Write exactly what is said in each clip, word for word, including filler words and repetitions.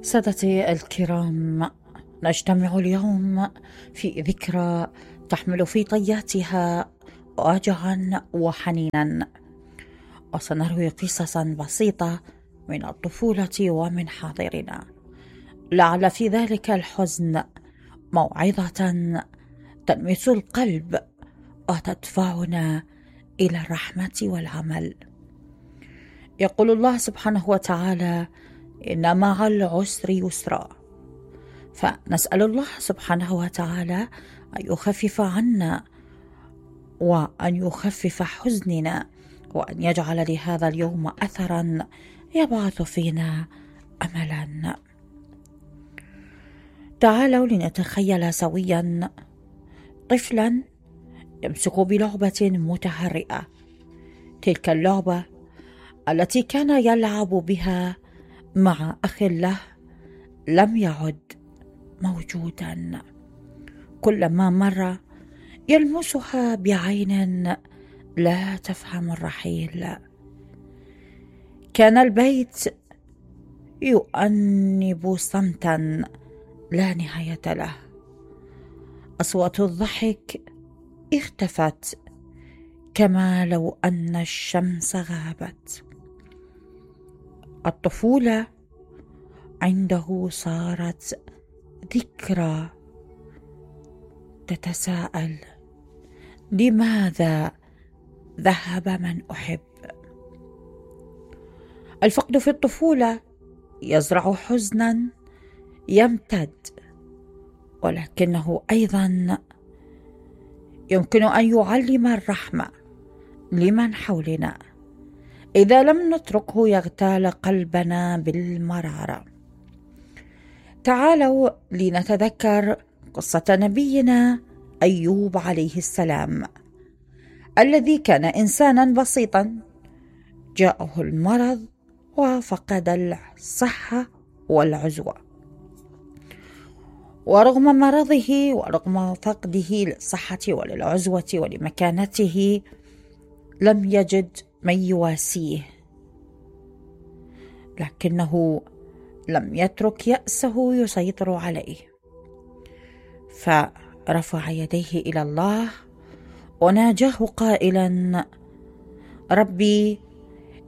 سادتي الكرام، نجتمع اليوم في ذكرى تحمل في طياتها وجعا وحنينا، وسنروي قصصا بسيطة من الطفولة ومن حاضرنا، لعل في ذلك الحزن موعظة تلمس القلب وتدفعنا إلى الرحمة والعمل. يقول الله سبحانه وتعالى: إن مع العسر يسرا، فنسأل الله سبحانه وتعالى أن يخفف عنا وأن يخفف حزننا، وأن يجعل لهذا اليوم أثرا يبعث فينا أملا. تعالوا لنتخيل سويا طفلا يمسك بلعبة متهرئة، تلك اللعبة التي كان يلعب بها مع أخ له لم يعد موجودا، كلما مر يلمسها بعين لا تفهم الرحيل. كان البيت يؤنب صمتا لا نهاية له، أصوات الضحك اختفت كما لو أن الشمس غابت. الطفولة عنده صارت ذكرى تتساءل: لماذا ذهب من أحب؟ الفقد في الطفولة يزرع حزنا يمتد، ولكنه أيضا يمكن أن يعلم الرحمة لمن حولنا إذا لم نتركه يغتال قلبنا بالمرارة. تعالوا لنتذكر قصة نبينا أيوب عليه السلام، الذي كان إنسانا بسيطا جاءه المرض وفقد الصحة والعزوة، ورغم مرضه ورغم فقده للصحة وللعزوة ولمكانته لم يجد من يواسيه، لكنه لم يترك يأسه يسيطر عليه، فرفع يديه إلى الله وناجاه قائلا: ربي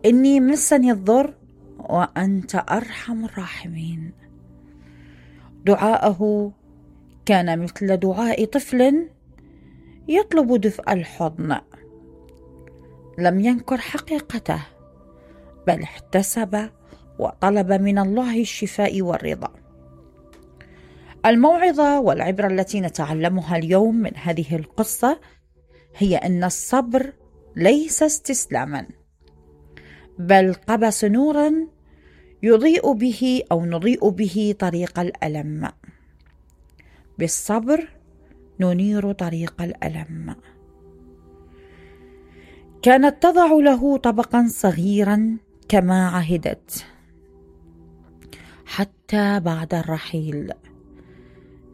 إني مسني الضر وأنت أرحم الراحمين. دعاءه كان مثل دعاء طفل يطلب دفء الحضن، لم ينكر حقيقته بل احتسب وطلب من الله الشفاء والرضا. الموعظة والعبرة التي نتعلمها اليوم من هذه القصة هي أن الصبر ليس استسلاما، بل قبس نورا يضيء به أو نضيء به طريق الألم. بالصبر ننير طريق الألم. كانت تضع له طبقا صغيرا كما عهدت حتى بعد الرحيل.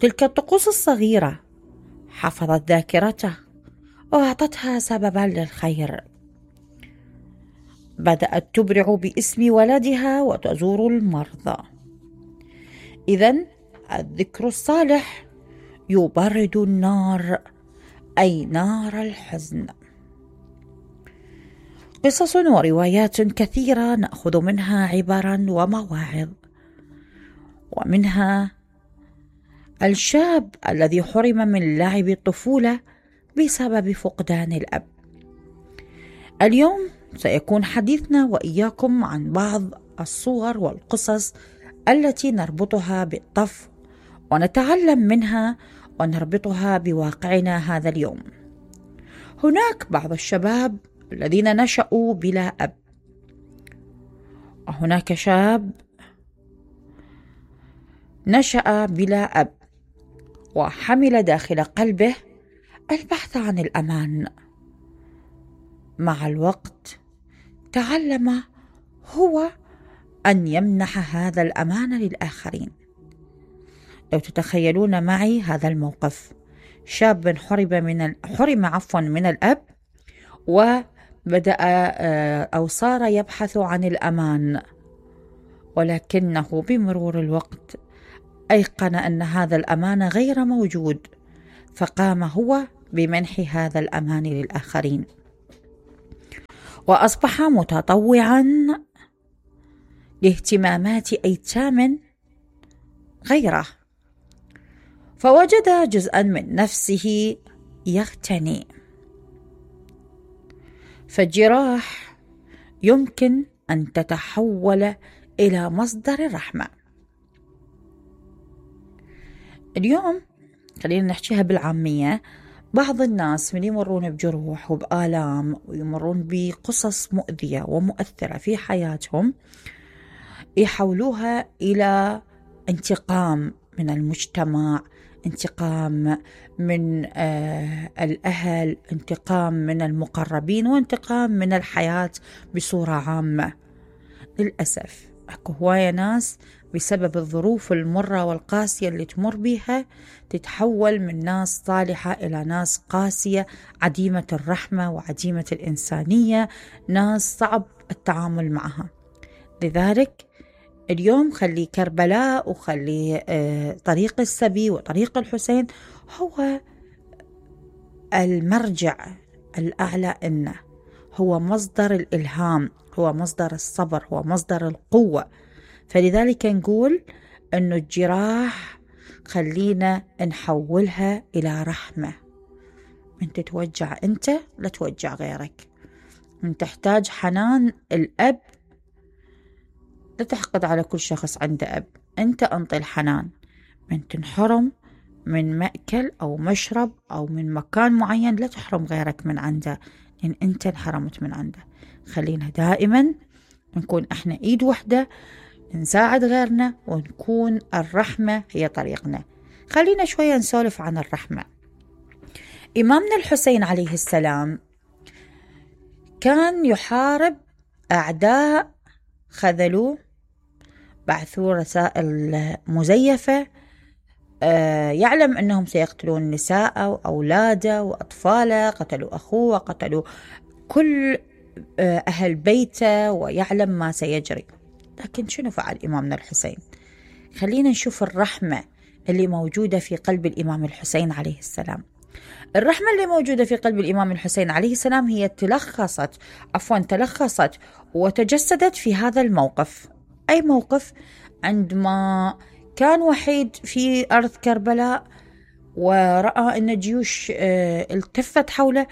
تلك الطقوس الصغيرة حفظت ذاكرته وأعطتها سببا للخير. بدأت تبرع باسم ولدها وتزور المرضى. إذن الذكر الصالح يبرد النار، أي نار الحزن. قصص وروايات كثيرة نأخذ منها عبرا ومواعظ، ومنها الشاب الذي حرم من لعب الطفولة بسبب فقدان الأب. اليوم سيكون حديثنا وإياكم عن بعض الصور والقصص التي نربطها بالطفل ونتعلم منها ونربطها بواقعنا هذا اليوم. هناك بعض الشباب الذين نشأوا بلا أب، وهناك شاب نشأ بلا أب وحمل داخل قلبه البحث عن الأمان. مع الوقت تعلم هو أن يمنح هذا الأمان للآخرين. لو تتخيلون معي هذا الموقف: شاب حرم من حرم عفوا من الأب، وبدأ أو صار يبحث عن الأمان، ولكنه بمرور الوقت أيقن أن هذا الأمان غير موجود، فقام هو بمنح هذا الأمان للآخرين، وأصبح متطوعا لاهتمامات أيتام غيره، فوجد جزءا من نفسه يغتني. فالجراح يمكن أن تتحول إلى مصدر الرحمة. اليوم خلينا نحكيها بالعامية، بعض الناس من يمرون بجروح وبآلام ويمرون بقصص مؤذية ومؤثرة في حياتهم يحولوها إلى انتقام من المجتمع، انتقام من آه الأهل، انتقام من المقربين، وانتقام من الحياة بصورة عامة. للأسف أكو هواية ناس بسبب الظروف المرة والقاسية اللي تمر بيها تتحول من ناس صالحة إلى ناس قاسية، عديمة الرحمة وعديمة الإنسانية، ناس صعب التعامل معها. لذلك اليوم خلي كربلاء وخلي آه طريق السبي وطريق الحسين هو المرجع الأعلى، إنه هو مصدر الإلهام، هو مصدر الصبر، هو مصدر القوة. فلذلك نقول أنه الجراح خلينا نحولها إلى رحمة. من تتوجع أنت لا توجع غيرك، من تحتاج حنان الأب لا تحقد على كل شخص عنده أب، أنت أنطي الحنان. من تنحرم من مأكل أو مشرب أو من مكان معين لا تحرم غيرك من عنده، لأن أنت انحرمت من عنده. خلينا دائما نكون احنا ايد وحدة، نساعد غيرنا، ونكون الرحمة هي طريقنا. خلينا شوية نسولف عن الرحمة. إمامنا الحسين عليه السلام كان يحارب أعداء خذلوه، بعثوا رسائل مزيفة، آه يعلم أنهم سيقتلون نساءه وأولاده وأطفاله، قتلوا أخوه وقتلوا كل أهل بيته، ويعلم ما سيجري. لكن شنو فعل إمامنا الحسين؟ خلينا نشوف الرحمة اللي موجودة في قلب الإمام الحسين عليه السلام. الرحمة اللي موجودة في قلب الإمام الحسين عليه السلام هي تلخصت عفوا تلخصت وتجسدت في هذا الموقف. أي موقف؟ عندما كان وحيد في أرض كربلاء ورأى أن الجيوش التفت حوله،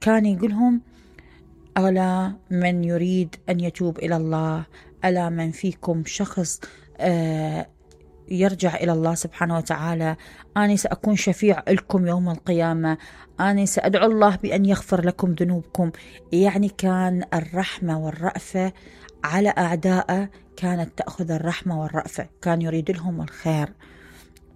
كان يقولهم: ألا من يريد أن يتوب إلى الله، ألا من فيكم شخص يرجع إلى الله سبحانه وتعالى، أنا سأكون شفيع لكم يوم القيامة، أنا سأدعو الله بأن يغفر لكم ذنوبكم. يعني كان الرحمة والرأفة على أعدائه، كانت تأخذ الرحمة والرأفة، كان يريد لهم الخير.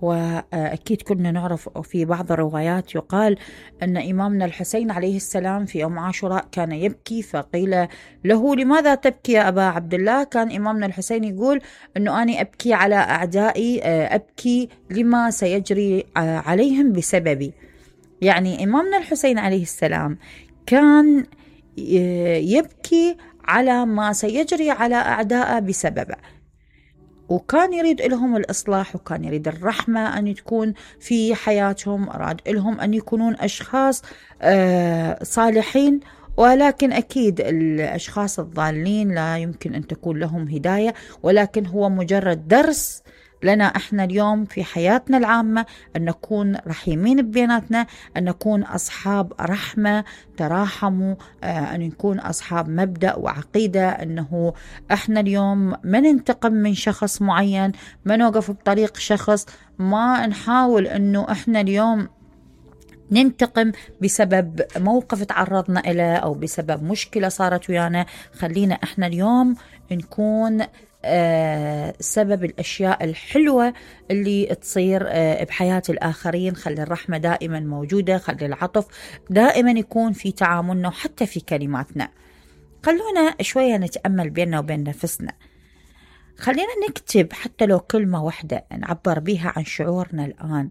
وأكيد كنا نعرف في بعض الروايات يقال أن إمامنا الحسين عليه السلام في يوم عاشوراء كان يبكي، فقيل له: لماذا تبكي يا أبا عبد الله؟ كان إمامنا الحسين يقول أنه أنا أبكي على أعدائي، أبكي لما سيجري عليهم بسببي. يعني إمامنا الحسين عليه السلام كان يبكي على ما سيجري على أعدائه بسببه، وكان يريد لهم الإصلاح، وكان يريد الرحمة أن تكون في حياتهم، أراد لهم أن يكونون أشخاص صالحين. ولكن أكيد الأشخاص الضالين لا يمكن أن تكون لهم هداية، ولكن هو مجرد درس لنا احنا اليوم في حياتنا العامة، أن نكون رحيمين ببيناتنا، أن نكون أصحاب رحمة، تراحموا، أن نكون أصحاب مبدأ وعقيدة، أنه احنا اليوم ما ننتقم من شخص معين، ما نوقف بطريق شخص، ما نحاول أنه احنا اليوم ننتقم بسبب موقف تعرضنا إليه أو بسبب مشكلة صارت ويانا. خلينا احنا اليوم نكون آه سبب الأشياء الحلوة اللي تصير آه بحياة الآخرين. خلي الرحمة دائما موجودة، خلي العطف دائما يكون في تعاملنا وحتى في كلماتنا. خلونا شوية نتأمل بيننا وبين نفسنا، خلينا نكتب حتى لو كلمة واحدة نعبر بها عن شعورنا الآن،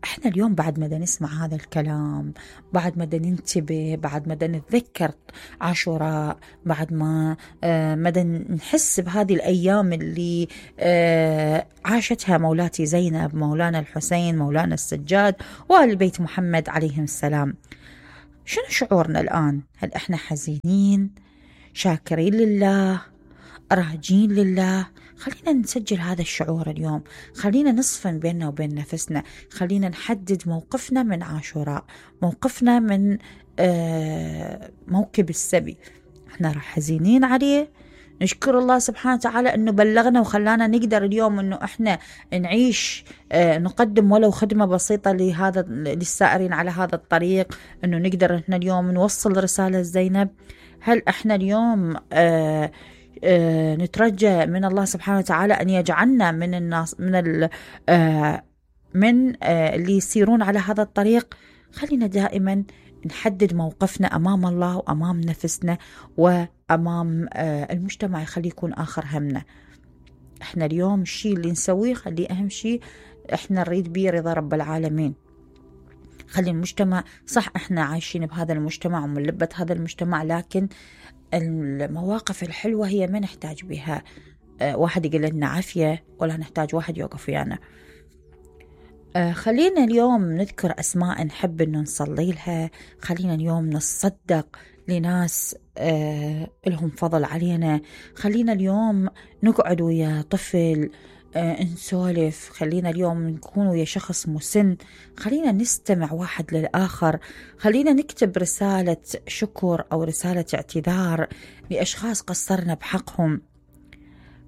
احنا اليوم بعد ما نسمع هذا الكلام، بعد ما ننتبه، بعد ما نتذكر عاشوراء، بعد ما آه ما نحس بهذه الأيام اللي آه عاشتها مولاتي زينب، مولانا الحسين، مولانا السجاد، وآل بيت محمد عليهم السلام، شنو شعورنا الآن؟ هل احنا حزينين، شاكرين لله، راجين لله؟ خلينا نسجل هذا الشعور اليوم، خلينا نصفن بيننا وبين نفسنا، خلينا نحدد موقفنا من عاشوراء، موقفنا من آه موكب السبي. احنا راح حزينين عليه، نشكر الله سبحانه وتعالى انه بلغنا وخلانا نقدر اليوم انه احنا نعيش، آه نقدم ولو خدمة بسيطة لهذا للسائرين على هذا الطريق، انه نقدر احنا اليوم نوصل رسالة زينب. هل احنا اليوم آه آه نترجى من الله سبحانه وتعالى أن يجعلنا من الناس من ال آه من آه اللي يسيرون على هذا الطريق؟ خلينا دائما نحدد موقفنا أمام الله وأمام نفسنا وأمام آه المجتمع، يخلي يكون آخر همنا. احنا اليوم الشيء اللي نسويه خليه أهم شيء احنا نريد به رضا رب العالمين. خلي المجتمع صح، احنا عايشين بهذا المجتمع ومن لبة هذا المجتمع، لكن المواقف الحلوة هي ما نحتاج بها أه واحد يقول لنا عافية، ولا نحتاج واحد يوقف ويانا. أه خلينا اليوم نذكر أسماء نحب أنه نصلي لها، خلينا اليوم نصدق لناس أه لهم فضل علينا، خلينا اليوم نقعد ويا طفل أه نسولف، خلينا اليوم نكون ويا شخص مسن، خلينا نستمع واحد للآخر، خلينا نكتب رسالة شكر أو رسالة اعتذار لأشخاص قصرنا بحقهم.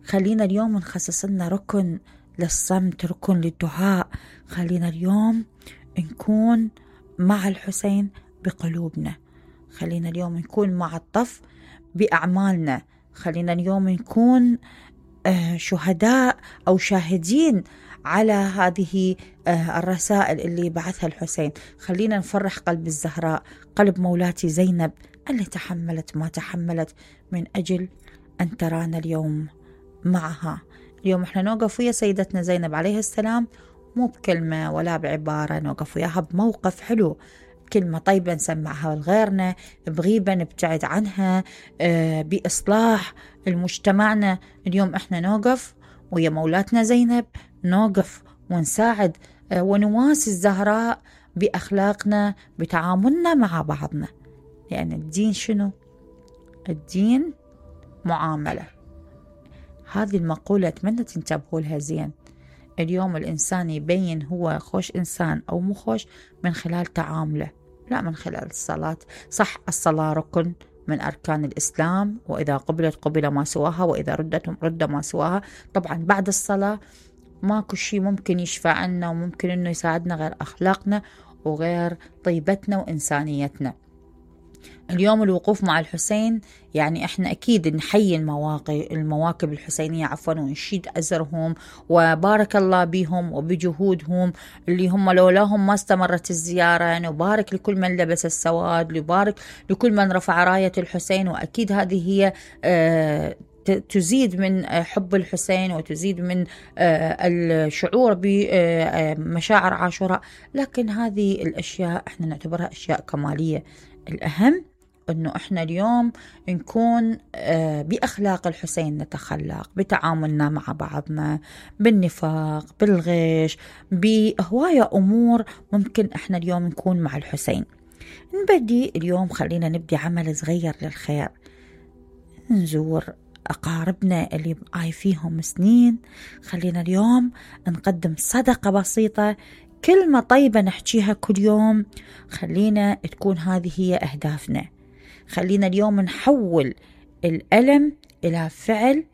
خلينا اليوم نخصص لنا ركن للصمت، ركن للدعاء. خلينا اليوم نكون مع الحسين بقلوبنا، خلينا اليوم نكون مع الطف بأعمالنا، خلينا اليوم نكون شهداء أو شاهدين على هذه الرسائل اللي بعثها الحسين. خلينا نفرح قلب الزهراء، قلب مولاتي زينب اللي تحملت ما تحملت من أجل أن ترانا اليوم معها. اليوم احنا نوقف ويا سيدتنا زينب عليه السلام، مو بكلمة ولا بعبارة، نوقف وياها بموقف حلو، كلمة طيبة نسمعها لغيرنا، بغيبة نبتعد عنها، بإصلاح المجتمعنا. اليوم احنا نوقف ويا مولاتنا زينب، نوقف ونساعد ونواسي الزهراء بأخلاقنا، بتعاملنا مع بعضنا، لأن يعني الدين شنو؟ الدين معاملة. هذه المقولة أتمنى تنتبهوا لها زين. اليوم الإنسان يبين هو خوش إنسان أو مو خوش من خلال تعامله، لا من خلال الصلاة. صح، الصلاة ركن من أركان الإسلام، وإذا قبلت قبل ما سواها، وإذا ردت رد ما سواها. طبعا بعد الصلاة ماكو شيء ممكن يشفع عنا وممكن إنه يساعدنا غير أخلاقنا وغير طيبتنا وإنسانيتنا. اليوم الوقوف مع الحسين يعني احنا اكيد نحيي المواقف المواكب الحسينية عفوا، ونشيد أزرهم وبارك الله بهم وبجهودهم اللي هم لولاهم ما استمرت الزيارة. نبارك لكل من لبس السواد، نبارك لكل من رفع راية الحسين، وأكيد هذه هي آه تزيد من حب الحسين وتزيد من الشعور بمشاعر عاشوراء. لكن هذه الأشياء احنا نعتبرها أشياء كمالية. الأهم أنه إحنا اليوم نكون بأخلاق الحسين، نتخلق بتعاملنا مع بعضنا، بالنفاق، بالغش، بهواية أمور ممكن إحنا اليوم نكون مع الحسين. نبدي اليوم، خلينا نبدي عمل صغير للخير، نزور أقاربنا اللي عايفيهم سنين، خلينا اليوم نقدم صدقة بسيطة، كلمة طيبة نحكيها كل يوم، خلينا تكون هذه هي أهدافنا. خلينا اليوم نحول الألم إلى فعل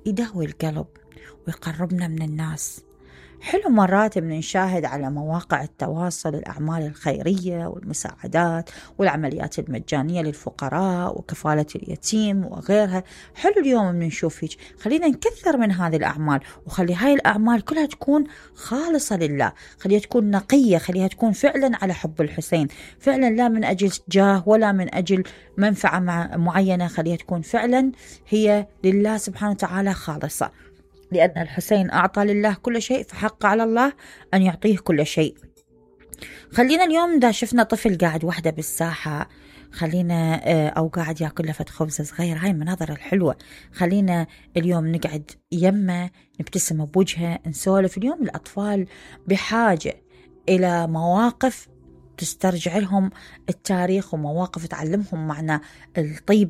يداوي القلب ويقربنا من الناس. حلو مرات بنشاهد على مواقع التواصل الأعمال الخيرية والمساعدات والعمليات المجانية للفقراء وكفالة اليتيم وغيرها. حلو اليوم بنشوف هيك، خلينا نكثر من هذه الأعمال، وخلي هاي الأعمال كلها تكون خالصة لله، خليها تكون نقية، خليها تكون فعلا على حب الحسين، فعلا لا من أجل جاه ولا من أجل منفعة معينة، خليها تكون فعلا هي لله سبحانه وتعالى خالصة، لأن الحسين أعطى لله كل شيء، فحق على الله أن يعطيه كل شيء. خلينا اليوم إذا شفنا طفل قاعد وحده بالساحة، خلينا أو قاعد يأكل لفة خبزة صغير، هاي المناظر الحلوة، خلينا اليوم نقعد يمه، نبتسم بوجهه، نسولف. اليوم الأطفال بحاجة إلى مواقف تسترجع لهم التاريخ، ومواقف تعلمهم معنى الطيبة